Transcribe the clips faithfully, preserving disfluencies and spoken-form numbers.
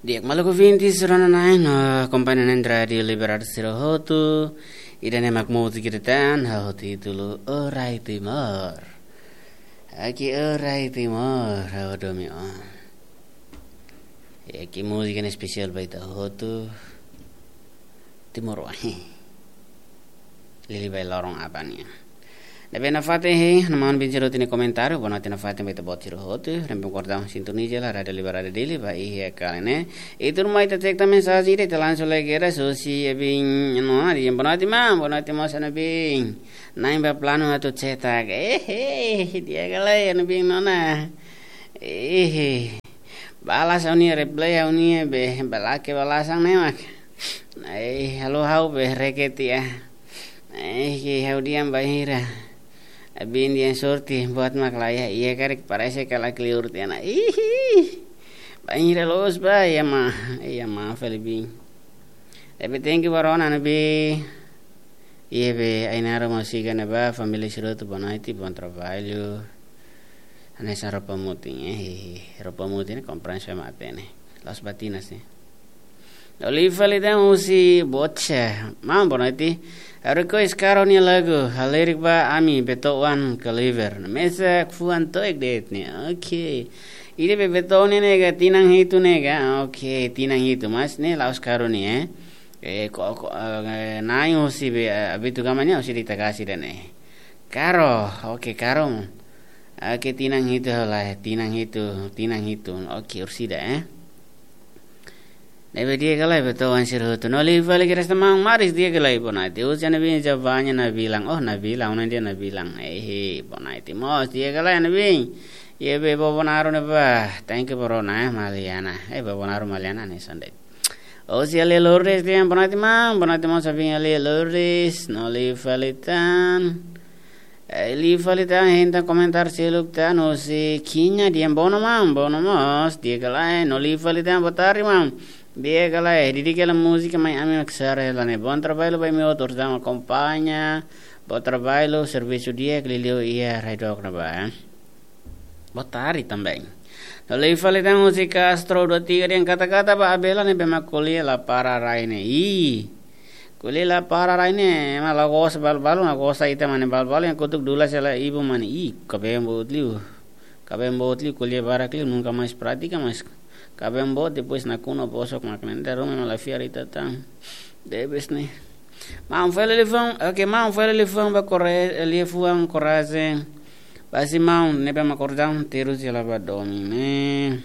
Di'ak, maluk ouvintes, rona-na'in no akompaña na'in rádiu Liberdade sira hotu. Ida-ne'e mak múzika ida tan ho títulu O Rai Timor. Oke, O Rai Timor, ha'u hadomi ó. Oke, múzika ne'e espesiál ba ita hotu. Timoroan. Liuliu ba loron aban nian. Ne'ebé nafatin, hei, ha'u-nia maun Bin Jeruti nia komentáriu, bonoite nafatin ba ita-boot sira hotu, rempe kordau sintoniza hela Rádiu Liberdade Dili, ba iha kali ne'e. I tuirmai ita teks mensajen ida, ita lansa lagi era, husi Ebin Nona, dehan bonoite maun, bonoite mós Ana Bin. Na'in ba planu atu cetak. Eh, eh, di'ak ka lae, Ana Bin Nona. Eh, eh. Balas ha'u-nia, reply ha'u-nia be, balake balasan ne'e mak. Ai, halo ha'u be reket tiha. Ai, ke ha'u dehan bainhira Abin dehan sorte buat mak laiha, iha karik parese kala kleur tiha ona. Ihi. Bainhira loos ba, iha ma, iha ma fali Bin. Tapi thank you ba rona ne'ebé. Iha be, Ainara mós siga ne'ebá, família sira hotu bonoite, bom trabalho. Hanesan roupa mutin, eh, roupa mutin ne'e komprensa matenek. La'ós ba tinan sih. No liu fali tan husi Bocha. Maun, bonoite. Ha'u request Caro nia lagu, halerik ba ami Beethoven Cleaver. Mesak fuan to'o ek de'it ne'e. Oke. Ida be Beethoven ne'e ka tinan hitu ne'e ka. Oke, tinan hitu, mas ne'e la'ós Caro nia, eh. Eh, ko, ko, eh, na'in husi be, eh, Abitu Gama nia husi Dita Kasi ida-ne'e. Caro, oke, Caro. Oke, tinan hitu hela, tinan hitu, tinan hitu. Oke, orsida, eh. Ne'ebé di'ak ka lae Beethoven sira hotu. No liu fali kedas tamang maris di'ak ka lae bonoite. Husi Ana Bin Jabanya Nabilang. Oh, Nabilang, ona dia Nabilang. Eh, bonoite mós di'ak ka lae Ana Bin. Iha be Bobonaro ne'ebá. Thank you ba rona, eh, Maliana. Eh, Bobonaro Maliana ne'e sandai. Husi Alia Lourdes dehan bonoite maun, bonoite maun Sabin Alia Lourdes, no liu fali tan. Eh, liu fali tan, hein tan komentáriu seluk tan, husi Kinya dehan bono maun, bono mós, di'ak ka lae, no liu fali tan, boa tarde maun. Di'ak ka lae, didik hela múzika Mai Ami Mak Sara hela ne'e. Bom trabalho ba imi hotu, orsida mak akompaña. Bom trabalho, servisu di'ak liuliu iha rai dook ne'ebá, eh. Boa tarde também. No liu fali tan husi Castro dua tiga dehan kata-kata ba Abela ne'ebé mak ko'alia la para rai ne'e. Ih. Ko'alia la para rai ne'e, ema la gosta balu-balu, la gosta ita mane balu-balu, yang kutuk dula sela ibu mane. Ih, kaben boot liu. Kaben boot liu, ko'alia barak liu, nunka mais pratika, mais kaben boot, depois nakonu bosok mak ne'e. Darum ema la fiar ita tan. Debes ne'e. Maun fali liafuan, oke, maun fali liafuan ba kore-, liafuan korajen. Ba si maun, ne'ebé mak kordau terus hela ba domin ne'e.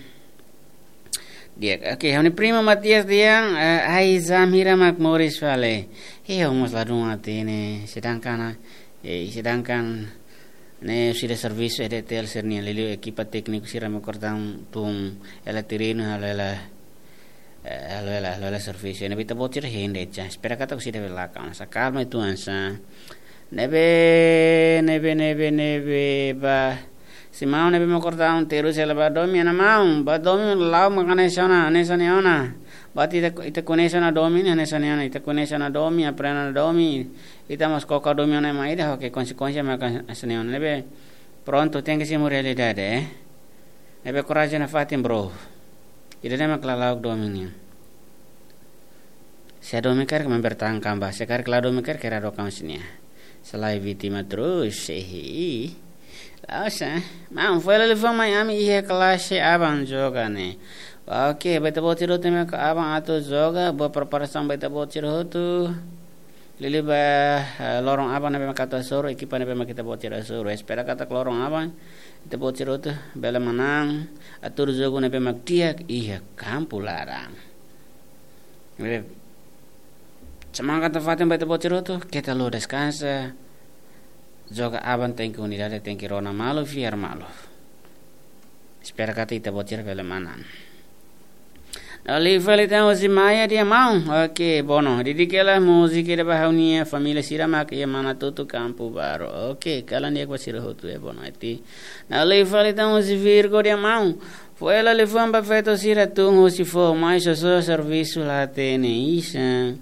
Di'ak, oke, ha'u-nia primo Matias dehan, eh, ai, zamira mak moris fali. Eh, ha'u mós ladún hatene, sedangkan, eh, sedangkan ne'e sira servisu E D T L sira-nian liuliu ekipa tékniku sira mak kordau tun hela terrenu halo hela, eh, halo hela, halo hela servisu. Ne'ebé ita-boot sira hein de'it, espera katak orsida bele lakon. Sa kalma itu ansa. Ne'ebé, ne'ebé, ne'ebé, ne'ebé, ba. Si maun ne'ebé mak kordau terus hela ba domin, Ana maun, ba domin la'o mak hanesan ona, hanesan ne'e ona. Ba ita, ita koñese ona domin, hanesan ne'e ona, ita koñese ona domin, aprende ona domin. Ita mós koko domin ona ema ida, oke, konsekuénsia mak hanesan ne'e ona. Ne'ebé, prontu, tenke simu realidade, eh. Ne'ebé korajen nafatin, bro. Ida-ne'e mak lala'ok domin nian. Se domin karik mempertahankan ba, se karik la domin karik kera do kamu sini ya. Selain vítima terus, eh, la'ós, eh. Maun, foin hela liafuan mai ami iha klase aban joga ne'e. Oke, ba ita-boot sira hotu ne'ebé mak aban atu joga, boa preparasaun ba ita-boot sira hotu. Liuliu ba, eh, loron aban ne'ebé mak atu hasoru, ekipa ne'ebé mak ita-boot sira hasoru. Espera katak loron aban, ita-boot sira hotu bele manán, atu jogu ne'ebé mak di'ak iha kampu laran. Ne'ebé, semangat nafatin ba ita-boot sira hotu, keta haluha deskansa. Joga aban, tenke unidade, tenke rona malu, fiar malu. Espera katak ita-boot sira bele manán. No liu fali tan husi Maia dehan maun. Oke, bono. Didik hela múzika ida ba ha'u-nia família sira mak iha Manatutu, Kampu Baru. Oke, kalan di'ak ba sira hotu, eh, bonoite. No liu fali tan husi Virgo dehan maun. Foin hela liafuan ba feto sira tun husi foho mai, sosa servisu la hatene, isa.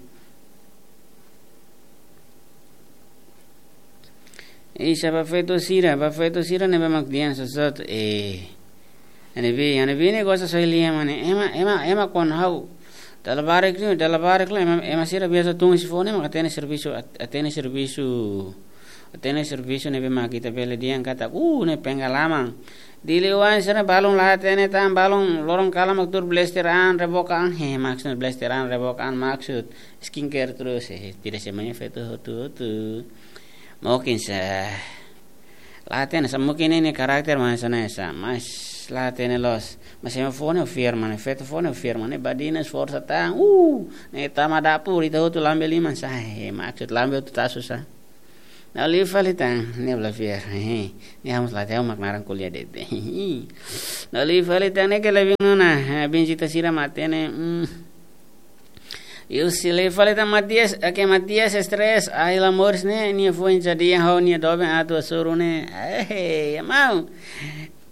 Isa, ba feto sira, ba feto sira ne'ebé mak dehan sosa, eh. Ne'ebé, ne'ebé ne'e gosta soe lia mane. Ema, ema, ema kuandu ha'u dala barak liu, dala barak liu, ema, ema sira biasa tun husi foun ne'e mak hatene servisu, hat-, hatene servisu, hatene servisu ne'ebé mak ita bele dehan katak, uh, ne'e pengalaman. Dili oan sira balun la hatene tan, balun loron kalan mak tuur blaster an, reboka an, he, maksud blaster an, reboka an, maksud skincare terus, he, tidak semuanya feto hotu-hotu. Mungkin sa, la hatene sa, mungkin ne'e karakter mak hanesan ne'e sa, mas la hatene loos. Mas ema foun ne'e fiar mane, feto foun ne'e fiar mane, badinas forsa tan, uh, ne'e tama dapur, ita hotu lambe liman sa, he, maksud lambe hotu tasu sa. Ne'e liu fali tan, ne'e bla fiar, he, ne'e ha'u mós la hatene, ha'u mak naran ko'alia de'it. Ne'e liu fali tan, ne'e ke lebih nona, he, bin cita sira mak hatene, hmm. Yu si liu fali tan Matias, oke, Matias stres, ai la moris ne'e, nia foin jadi ho nia doben atu hasoru ne'e. Eh, ya mau.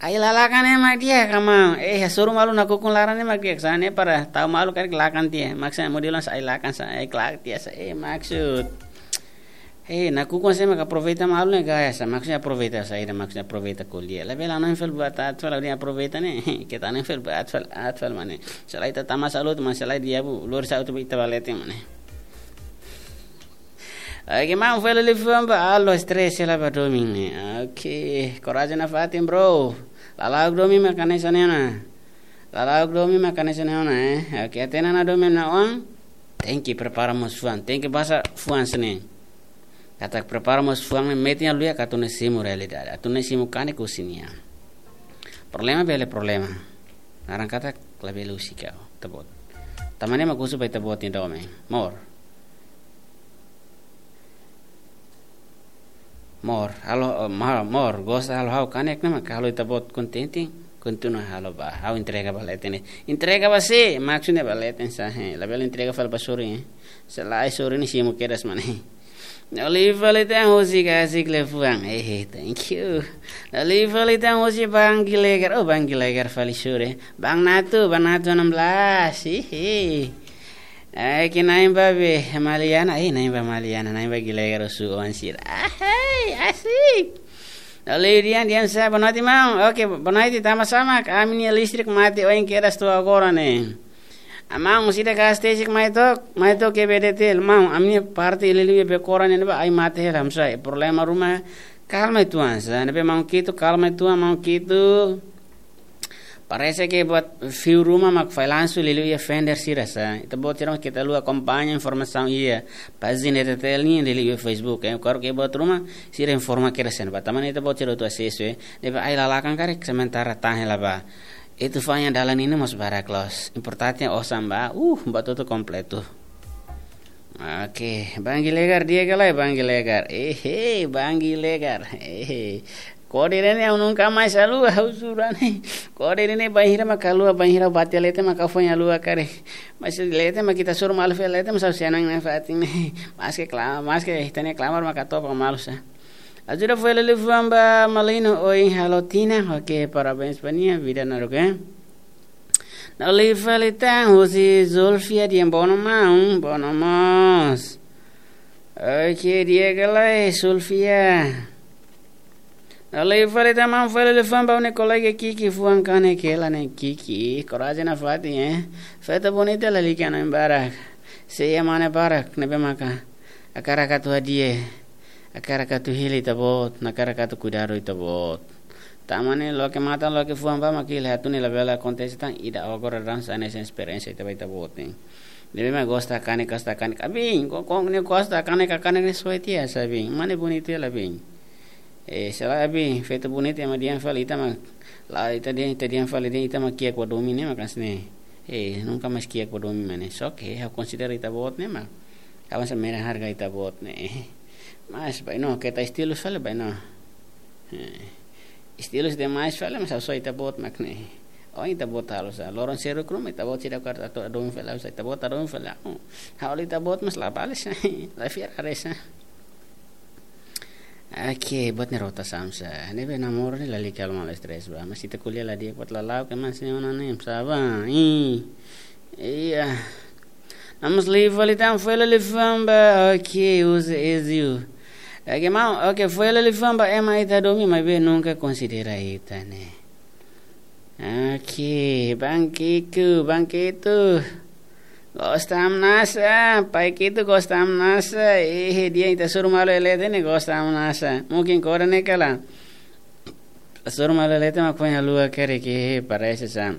Ai lalakan ne'e mak di'ak ka mau. Eh, hasoru malu nakukun laran ne'e mak di'ak sa ne'e para tau malu karik lakan tiha. Maksud modelu sa ai lakan sa, ai klak tiha sa. Eh, maksud. Eh, nakukun sa mak aproveita malu ne'e gaya sa. Maksudnya aproveita saida, maksudnya aproveita ko'alia. Labele hanoin fali buat aat fali, ha'u dehan aproveita ne'e. Keta hanoin fali buat aat fali, aat fali mane. Se lae ita tama salut, mas se lae di'ak, bu, lori sa utu ita ba leten mane. Oke, maun, fali liafuan ba, alo, stres hela ba domin ne'e. Oke, korajen nafatin, bro. Lala'ok domin mak hanesan ne'e ona. Lala'ok domin mak hanesan ne'e ona, eh. Oke, hatene ona domin nia oan. Tenke prepara mós fuan, tenke basa fuan sira-ne'e. Katak prepara mós fuan ne'e metin halo iha atu nune'e simu realidade, atu nune'e simu kanek husi nia. Problema bele problema. Naran katak labele husik ha'u, ita-boot. Tanba ne'e mak husu ba ita-boot nia domin. Mor. Mor, halo, eh, ma-, mor, gosta halo ha'u kanek ne'e mak halo ita-boot kontente, kontinua halo ba, ha'u entrega ba leten ne'e. Entrega ba sé, maksudnya ba leten sa, he, labele entrega fali ba sorin, eh. Se lae sorin ne'e simu kedas mane. Ne'e liu fali tan husik asik liafuan. Eh, thank you. Ne'e liu fali tan husi Bang Gilegar. Oh, Bang Gilegar fali sure. Bang Natu, Bang Natu enam belas. Hihi. Eh, ke na'in ba be Maliana. Eh, na'in ba Maliana, na'in ba Gilegar husu oan sira. Ahai, asik. Ne'e liu di'ak, di'ak sa, boa noite, maun. Oke, boa noite, tama sama. Ami-nia listrik mate oin kedas to'o agora ne'e. Maun, sira gas tesik mai to'o, mai to'o ke B D T, maun, ami-nia parte liuliu Becora ne'e ba ai mate hela, hamsai. Problema ruma, kalma uitoan sa. Ne'ebé maun Kitu, kalma uitoan, maun Kitu. Parese ke buat fiu ruma mak fallansu liuliu iha vendor sira sa. Ita-boot sira mak keta haluha akompaña informasaun iha pájina T T L nian liuliu iha Facebook, eh. Karik iha buat ruma, sira informa kedas sa ne'ebá. Tanba ne'e ita-boot sira atu asesu, eh. Ne'ebé ai lalakan karik sementara tahan hela ba. Ita fanya dalan ne'e mós barak loos. Importante osan ba, uh, buat hotu kompletu. Oke, Bang Gilegar, di'ak ka lae Bang Gilegar. Eh, hei, Bang Gilegar. Eh, hei. Kode ne'e ha'u nunka mais haluha, ha'u sura ne'e. Kode ne'e bainhira mak haluha, bainhira bate leten mak ha'u foin haluha karik. Mas leten mak ita hasoru malu fali leten mak ha'u senang nafatin ne'e. Maske kla-, maske ita-nia klamar mak hato'o ba malu sa. Ajuda fali liafuan ba Malino oin halo tinan. Oke, parabéns ba nia, vida naruk, eh. Ne'e liu fali tan husi Zulfia, di'ak, bono maun, bono mós. Oke, di'ak ka lae Zulfia. Ne'e liu fali tan maun, fali liafuan ba ó-nia kolega Kiki, fuan kanek hela ne'e Kiki. Korajen nafatin, eh. Feto bonita lalika hanoin barak. Sei iha mane barak, ne'ebé maka hakarak atu hadi'a, hakarak atu hili ita-boot, hakarak atu kuidadu ita-boot. Tanba ne'e loke matan, loke fuan ba mak hili hatún ne'e labele akontese tan, ida agora daudaun sai hanesan esperiénsia ita ba ita-boot ne'e. Ne'ebé mak gosta kanek, gosta kanek. Abin, ko, ko, ne'e gosta kanek, kanek ne'e soe tiha sa bin. Mane bonita hela bin. Eh, se lae abin, feto bonita ema dehan fali ita mak, la ita dehan, ita dehan fali dehan ita mak kiak ba domin ne'e mak hanesan ne'e. Eh, nunka mais kiak ba domin mane. Só ke, ha'u konsidera ita-boot ne'e mak. Ha'u hanesan mera harga ita-boot ne'e. Mas, bainhira keta estilu fali, bainhira. Eh, estilu demais fali, mas ha'u soe ita-boot mak ne'e. Oh, ita-boot halo sa. Loron seruk ruma, ita-boot sira karik atu domin fali, ha'u sa ita-boot domin fali. Oh, ha'u ita-boot mas la bales. La fiar haree sa. Oke, buat ne'e rota sam sa. Ne'ebé namoro ne'e lalika halo malu stres ba. Mas ita ko'alia la di'ak buat lala'ok ke mas ne'e ona ne'e sa ba. Ih. Iya. Vamos live fali tan, fali live famba. Oke, uza Ezio. Oke, maun, oke, fali live famba. Ema ita domin maibé nunka konsidera ita ne'e. Oke, Bang Kiku, Bang Kitu. Gosta hamnasa, Pai Kitu gosta hamnasa. Eh, di'ak, ita hasoru malu iha leten ne'e gosta hamnasa. Mungkin kora ne'e kala. Hasoru malu iha leten mak foin haluha karik, eh, parese sa.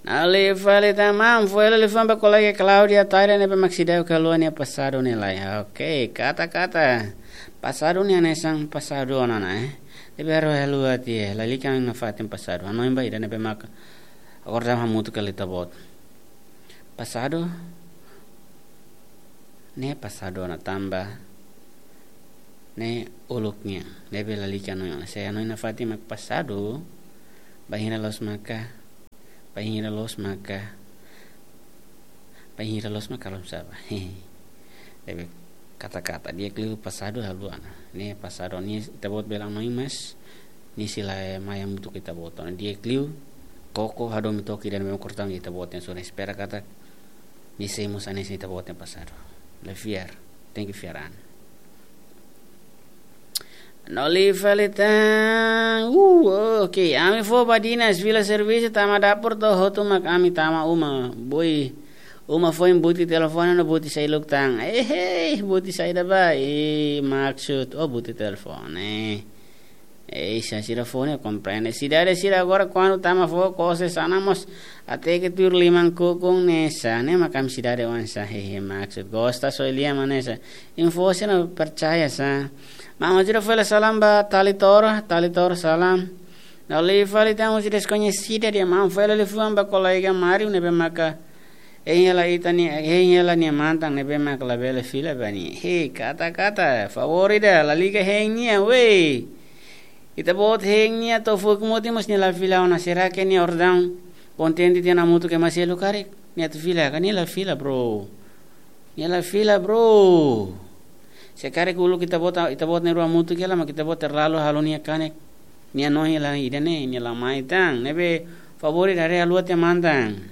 Nali fali tan, maun, fó hela liafuan ba kolega Claudia Taira ne'ebé mak seidauk haluha nia pasadu ne'e lai. Oke, kata-kata. Pasadu ne'e hanesan pasadu ona ona, eh. Ne'ebé ha'u haluha tiha, lalika ha'u-nia fatin pasadu. Hanoin ba ida ne'ebé mak agora hamutuk hela ita-boot. Pasadu ne'e pasadu ona tanba ne'e uluk nian. Ne'ebé lalika hanoin ona. Se ha'u-nia fatin mak pasadu, bainhira loos maka, bainhira loos maka, bainhira loos maka lom saba. Ne'ebé kata-kata di'ak liu pasadu haluha ona. Ne'e pasadu ne'e ita-boot bele hanoin, mas nia sei la mai hamutuk ho ita-boot ona. Di'ak liu koko hadomi took ida ne'ebé mak kortaun ita-boot nian, só espera katak nia sei mós hanesan ita-boot nia pasadu. La fiar, tenke fiar an. Nali fali tan. Uh, oke, ami fó badinas fila servisu tama dapur to'o hotu mak ami tama uma. Boi, uma foin buti telefone no buti seluk tan. Eh, eh, buti saida ba? Eh, maksud, oh, buti telefone. Eh, sa sira fó ne'e komprende. Sidade sira agora kuandu tama fó kose sana mós até ke tuir liman kukun ne'e sa. Ne'e mak ami sidade oan sa, hehe, maksud. Gosta só lia manesa. Info sira percaya sa. Maun, ajuda fó hela salam ba Talitor, Talitor salam. Nali fali tan husi deskoñesida di'ak, maun, fó hela liafuan ba kolega Mario ne'ebé maka hein hela ita-nia, hein hela nia mantan ne'ebé mak labele fila ba nia. Hei, kata-kata, favór ida, lalika hein nia, wei. Ita-boot hein nia to'o fuik mutin mós nia la fila ona, será ke nia ordaun kontente tiha hamutuk ho ema seluk karik? Nia atu fila, ka nia la fila, bro. Nia la fila, bro. Se karik uluk ita-boot, ita-boot na'in-rua hamutuk hela, mak ita-boot terlalu halo nia kanek. Nia hanoin hela ida-ne'e, nia la mai tan. Ne'ebé favór ida haree haluha tiha mantan.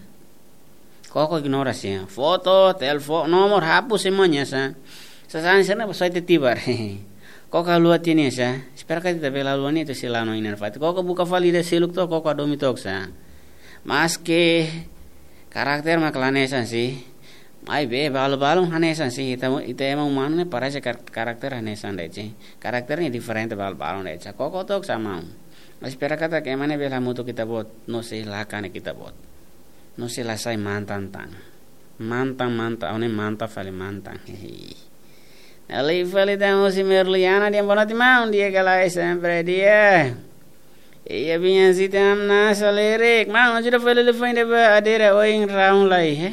Koko ignora sa. Foto, telefone, nomor, hapus semuanya sa. Sasán sira-ne'e ba soe tiha tibar. Koko haluha tiha nia sa. Espera katak ita bele haluha nia, ita sei la hanoin nia fatin. Koko buka fali ida seluk to'o, koko hadomi took sa. Maske karakter mak la hanesan sih. Maibé balu-balu hanesan sih. Ita, ita ema umanu ne'e parese kar-, karakter hanesan de'it sih. Karakter ne'e diferente balu-balu de'it sa. Koko took sa maun. Mas espera katak ema ne'e bele hamutuk ho ita-boot, no sei la kanek ita-boot. No sei la sai mantan tan. Mantan, mantan, ha'u-nia mantan fali mantan. Hehe. Nali fali tan husi Merliana di'ak, boa noite maun, di'ak ka lae, sempre di'ak. Iya, binya sita am na salerik. Maun, ajuda fó hela liafuan ida ba Adera oin raun lai, he?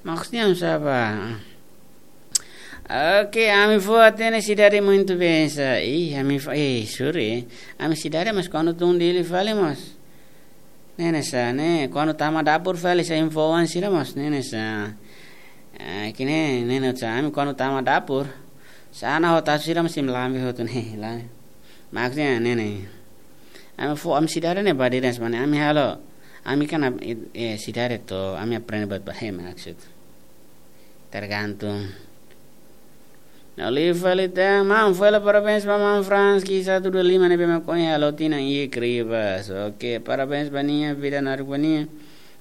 Maksudnya am saba? Oke, ami fó hatene sidade muito bem sa. Ih, ami fó, eh, sorry. Ami sidade mas kuandu tun Dili fali mós. Ne'e ne'e sa, ne'e, kuandu tama dapur fali sa info oan sira mós, ne'e ne'e sa. Eh, kine, ne'e ne'e sa, ami kuandu tama dapur. Sana ho tasu sira mós imi lambe hotu ne'e, la. Maksudnya, ne'e ne'e. Ami fó, ami sidade ne'e badinas mane, ami halo. Ami kan ab-, eh, sidade to'o, ami aprende buat ba, he, maksud. Tergantung. Nali fali tan, maun, fó hela parabéns ba maun Franski satu dua lima ne'ebé mak ohin halo tinan iik ribas. Oke, parabéns ba nia, vida naruk ba nia.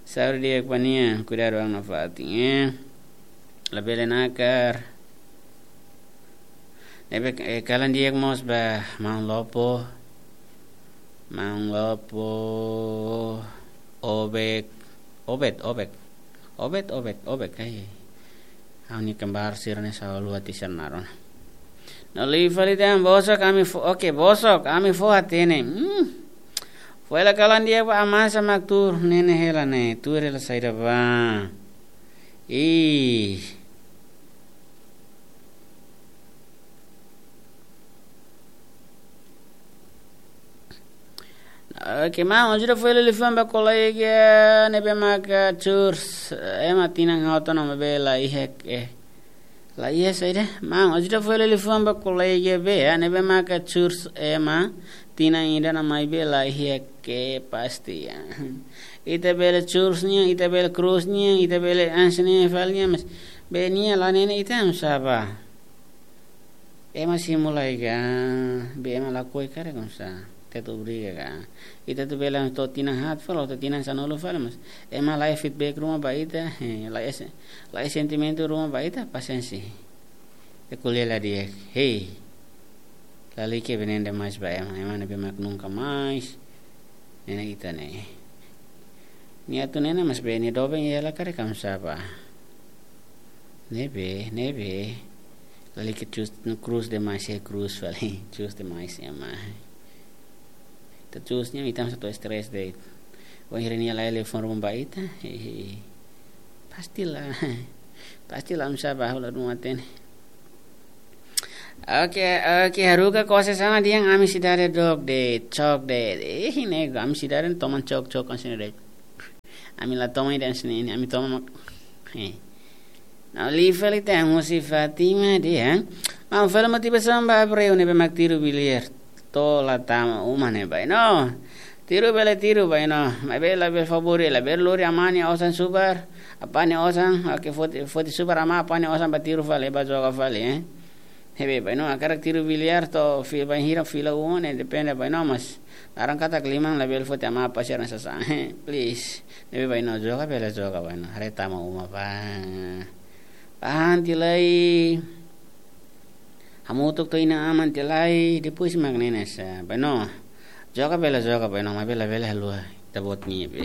Saúde di'ak ba nia, kuidadu an nafatin, eh. Labele nakar. Ne'ebé, eh, kalan di'ak mós ba maun Lopo. Maun Lopo. Obek. Obet, Obek. Obet, Obet, Obek, eh. Ha'u-nia kembar sira-ne'e selalu hati senar. Nali fali tan bosok ami fó, oke, bosok ami fó hatene. Hmm. Fó hela kalan di'ak ba amasa mak tuur, ne'e ne'e hela ne'e, tuur hela saida ba. Ih. Oke, maun, ajuda fó hela liafuan ba kolega ne'ebé maka Curs, eh, ema tinan hotu ona maibé la iha, eh. La iha saida? Maun, ajuda fó hela liafuan ba kolega be, eh, ne'ebé maka Curs ema tinan ida ona maibé la iha kepastian. Ita bele Curs nian, ita bele Cruz nian, ita bele Ans nian, fali nian, mas be nia la ne'e ne'e ita am saba? Ema simu lai ka, be ema lakohi karik am sa. Ita atu obriga ka. Ita atu bele to'o tinan haat fali, to'o tinan sanulu fali, mas ema la iha feedback ruma ba ita, eh, la iha se-, la iha sentimentu ruma ba ita, pasiénsia. Ita ko'alia la di'ak, hei. Lalika bee neen demais ba ema, ema ne'ebé mak nunka mais. Ne'e ita ne'e. Nia atu ne'e mas bee nia doben iha hela karik oinsá bá. Ne'ebé, ne'ebé. Lalika chus, no krús demais, eh, krús fali. Chus demais ema. Ita chus nia, ita mós atu stress de'it. Wainhira nia la iha liafuan ruma ba ita, eh, eh, pasti la. Pasti la oinsá bá, ha'u la hatene. Oke, oke, haruka kose sana di'ak, ami sidade dook de'it, choke de'it. Eh, ne'e, ami sidade toman choke, choke kan sini de'it. Ami la toma ida sini, ami toma mak. Eh. Ne'e liu fali ita husi Fatima de'it, eh. Maun, fali motivasaun ba Abreu ne'ebé mak tiru biliar. To'o la tama uma ne'e, bainó. Tiru bele tiru, bainó. Maibé labele favór, labele lori amá nia osan subar. Apá nia osan, oke, foti, foti subar amá, apá nia osan bá tiru fali, bá joga fali, eh. Ne'ebé, bainó, hakarak tiru biliar to'o fi-, bainhira fila uma ne'e, depende, bainó, mas. Naran katak liman labele foti amá apá sira-nia sasán. Please. Ne'ebé, bainó, joga bele joga, bainó. Haree tama uma bá. Bá han tiha lai. Hamutuk to'o inan-aman tiha lai, depois mak ne'e hanesan, bainó. Joga bele joga, bainó, maibé labele haluha ita-boot nia be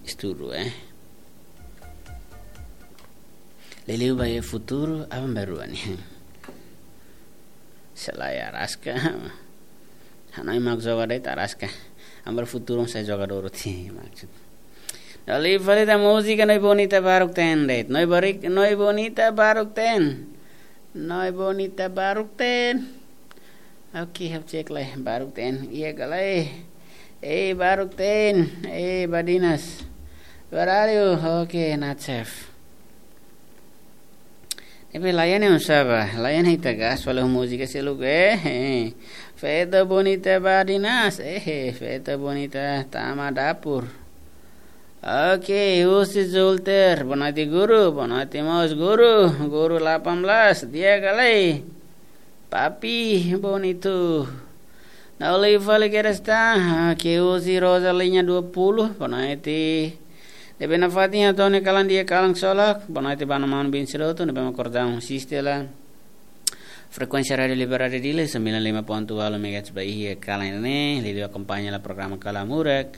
estudu, eh. Liuliu ba iha futuru, aban-bainrua nian. Se lae araska. Hanoin mak joga de'it araska. Aban-bainrua futuru sai jogadór hotu, maksud. Ne'e liu fali ita múzika Noi Bonita Baruk Ten de'it. Noi Barik, Noi Bonita Baruk Ten. Noi Bonita Baruk Ten. Oke, ha'u cek lai Baruk Ten. Iha ka lae. Eh, Baruk Ten. Eh, Badinas. Where are you? Oke, not safe. Ne'ebé lae ne'e oinsá bá, lae ne'e ita gas fali múzika seluk, eh, eh. Feto bonita Badinas, eh, eh, feto bonita tama dapur. Oke, husi Zulter, boa noite guru, boa noite mós guru, guru delapan belas, di'ak ka lae. Papi, bonito. Ne'e liu fali kedas tan, ah, ke husi Rosa linha dua puluh, boa noite. Ne'ebé nafatin hato'o nia kalan di'ak, kalan solok, boa noite ba maun Bin Siroto, ne'ebé mak kordang asiste lai. Frekuénsia Rádiu Liberdade Dili, sembilan lima ponto walu megahertz ba iha kalan ne'e, liuliu akompaña lai programa Kalan Murak.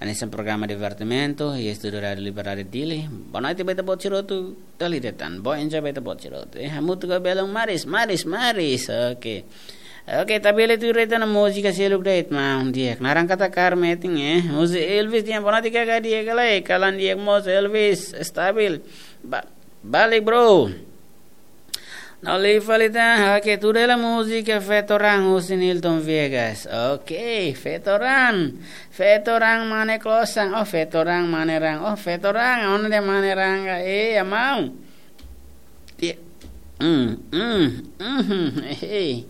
Hanesan programa divertimentu, iha estúdiu Rádiu Liberdade Dili. Boa noite ba ita-boot sira hotu, dala ida tan. Boa enjoy ba ita-boot sira hotu. Eh, hamutuk ho belun maris, maris, maris. Oke. Oke, ita bele tuir ita-nia múzika seluk de'it maun di'ak. Naran katak Carmen Etin, eh. Husi Elvis dehan, boa noite kaka, di'ak ka lae. Kalan di'ak mós Elvis, stabil. Ba-, balik, bro. Ne'e liu fali tan, oke, tuir hela múzika Feto Raan husi Nilton Viegas. Oke, Feto Raan. Feto Raan mane klosan. Oh, Feto Raan mane raan. Oh, Feto Raan, onde mane raan ka? Eh, amau. Ti-, mm, mm, mm, eh, eh.